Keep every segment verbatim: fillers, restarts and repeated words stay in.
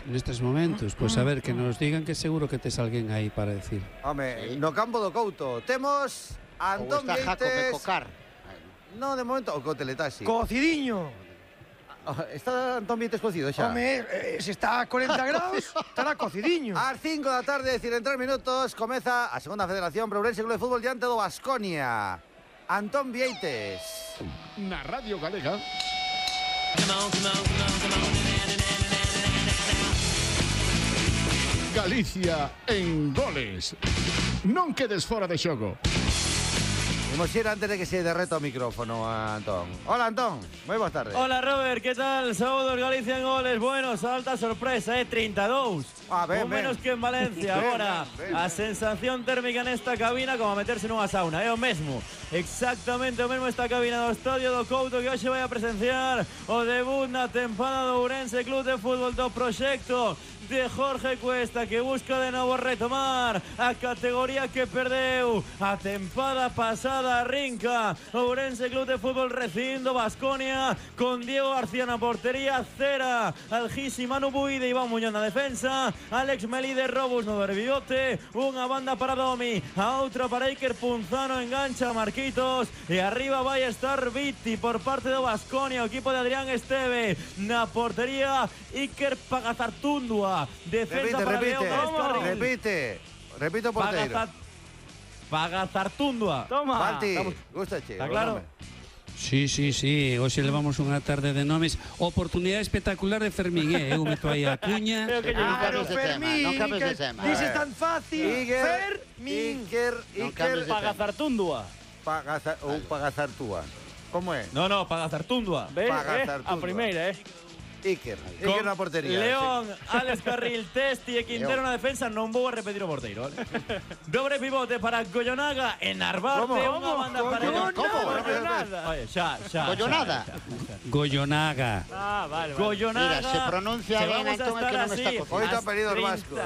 nestes momentos. Pois a ver, que nos digan que seguro que tes alguén aí para decir. Home, no campo do Couto temos a Antón Ou está Jaco Vieites. Pecocar. No, de momento, o co teletaxi. Cocidiño. Está Antón Vieites cocido xa? Home, eh, se está a corenta graus, estará cocidiño. Ás cinco da tarde, decir, en tres minutos, comeza a segunda federación para Ourense Club de Fútbol diante do Baskonia. Antón Vieites. Na Radio Galega. Galicia en goles. Non quedes fora de xogo. Imos ir antes de que se derreta o micrófono a Antón. Hola, Antón. Moi boas tardes. Hola, Robert, ¿qué tal? Saúdos, Galicia en goles. Bueno, salta sorpresa, eh, treinta e dous. Ah, ben, Un ben. menos que en Valencia. Ben, Agora, ben, ben, a ben. sensación térmica nesta cabina como a meterse nunha sauna. É o mesmo, exactamente o mesmo esta cabina do Estadio do Couto, que hoxe vai a presenciar o debut na tempada do Ourense Club de Fútbol do proxecto de Jorge Cuesta, que busca de novo retomar a categoría que perdeu a tempada pasada. Arrinca Ourense Club de Fútbol recibindo Baskonia con Diego García na portería, Cera, Algisi, Manu Buide, Iván Muñoz na defensa, Alex Melide, Robus no derbivote, unha banda para Domi, a outra para Iker Punzano, engancha a Marquitos e arriba vai estar Vitti por parte do Baskonia, o equipo de Adrián Esteve na portería, Iker Pagazartundua. Defensa Repite, para repite, León Escarril. repite. Repite o porteiro. Pagazar- Pagazartundua. Toma. Balti, Estamos- gustache. Está o claro? nome. Sí, sí, sí, hoxe levamos unha tarde de nomes. Oportunidade espectacular de Fermín, eh? Eu meto aí a cuña. Pero que Non claro, cambies de tema, Fermín, non cambies de que tema. dices tan fácil. Iker, Fermín. Iker, Non Iker, cambies de tema. Pagazartundua. Pagazar, ou Pagazartúa. Como é? No, no, Pagazartundua. Ves, eh? Pagazartundua. A primeira, eh? Iker, Con Iker na portería. León, Alex Carril, Testi e Quintero León. na defensa. Non vou a repetir o porteiro, vale? Dobre pivote para Gollonaga e Narvarte. ¿Cómo? Unha banda para Collonada. ¿Cómo? Collonada. Oye, xa, xa. Collonada. xa, xa, xa. Gollonaga. Ah, vale, vale. Gollonaga. Mira, se pronuncia que ben, vamos a Antón, é estar que non así está cocido. Oito as apelidos treinta vascos.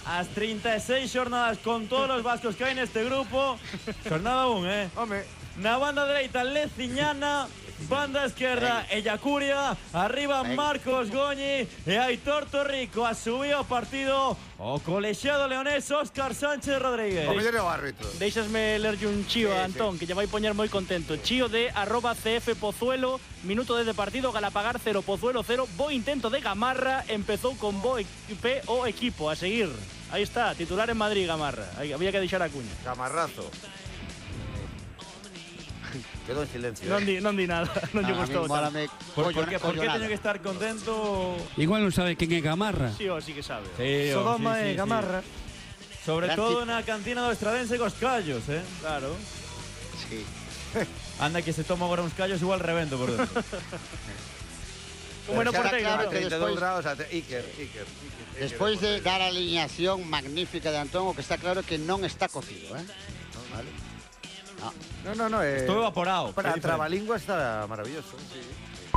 As treinta e seis xornadas con todos os vascos que hai neste grupo. Xornada un, eh? Home, Na banda dereita, Leciñana. Banda esquerda, Ellacuria. Arriba, Venga. Marcos Goñi. E Aitor Torrico. A subir o partido o colexiado leonés Óscar Sánchez Rodríguez. o mellor é o árbitro. Deixasme lerlle un chío Sí, a Antón, que lle vai poñer moi contento. Chío de arroba cf Pozuelo, minuto desde partido, Galapagar cero, Pozuelo cero, bo intento de Gamarra, empezou con bo equipe o equipo, a seguir. Aí está, titular en Madrid, Gamarra. Aí, había que deixar a cuña. Camarrazo. Quedou en silencio. Non eh. di, non di nada, non lle A mí gustou. tanto. mólame Por, por, collona- que, por que collonada. teño que estar contento? Igual non sabe quen é Gamarra. Sí, o sí que sabe. Sí, oh, Sodoma sí, sí, e Gamarra. sí. Sobre Gran todo tip- na cantina do Estradense cos callos, eh? Claro. Sí. Anda que se toma agora uns callos igual revento por dentro. Como Pero no xa porteiro, claro, Antón. trinta e dous Despois- grados a te- Iker, Iker, Iker. Despois de dar a alineación magnífica de Antón, o que está claro é que non está cocido, eh? Vale. No, no, no, eh. Estou evaporado. Para que é diferente. trabalingua está maravilloso.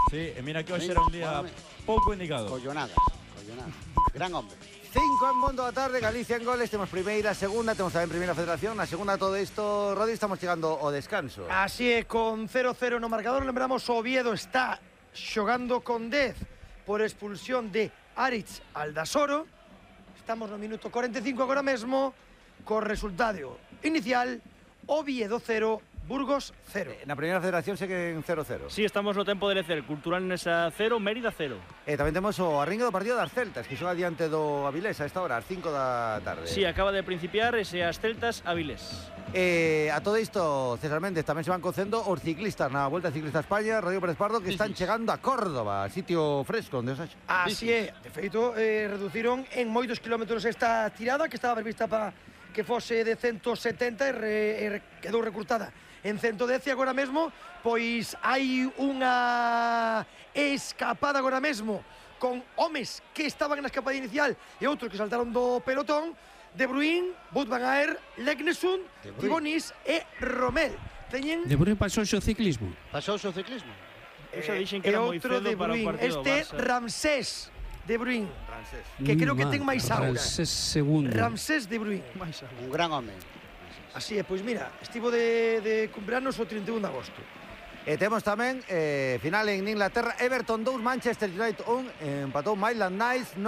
Sí, e mira que hoxe Venga, era un día póngame. pouco indicado. Collonada, collonada. Gran hombre. Cinco en mundo da tarde, Galicia en goles, temos primeira, segunda, temos tamén primeira federación, na segunda todo isto, Rodi, estamos chegando ao descanso. Así é, con cero cero no marcador, lembramos o Oviedo está xogando con dez por expulsión de Aritz Aldasoro. Estamos no minuto cuarenta e cinco agora mesmo, co resultado inicial, Oviedo cero, Burgos cero. Na primeira federación seguen cero cero. Sí, estamos no tempo de lecer. Cultural Nesa cero, Mérida cero. E tamén temos o arringue do partido das Celtas, que xoga diante do Avilés a esta hora, ás cinco da tarde. Sí, acaba de principiar ese as Celtas Avilés. Eh, a todo isto, César Méndez, tamén se van cocendo os ciclistas na Volta Ciclista a España, Rodrigo Pérez Pardo, que están chegando a Córdoba, sitio fresco onde os haxa. Así é, de feito, eh, reduciron en moitos kilómetros esta tirada que estaba prevista para que fose de ciento setenta e, re, e re, quedou recurtada en ciento dez e agora mesmo pois hai unha escapada agora mesmo con homes que estaban na escapada inicial e outros que saltaron do pelotón. De Bruyne, Wout van Aert, Leknesund, Tibonis e Romel. Teñen De Bruyne pasou o ciclismo. Pasou o seu ciclismo. Eu xa dixen e que era moi outro cedo de para o Bruyne, partido do este Barça. Ramsés de Bruyne, Francés. que creo que Mm, ten máis aura. Ramsés segundo. Ramsés de Bruyne. Un gran home. Así é, pois mira, estivo de, de cumpleanos o trinta e un de agosto. E temos tamén eh, final en Inglaterra, Everton dous, Manchester United un, empatou Maitland Nice.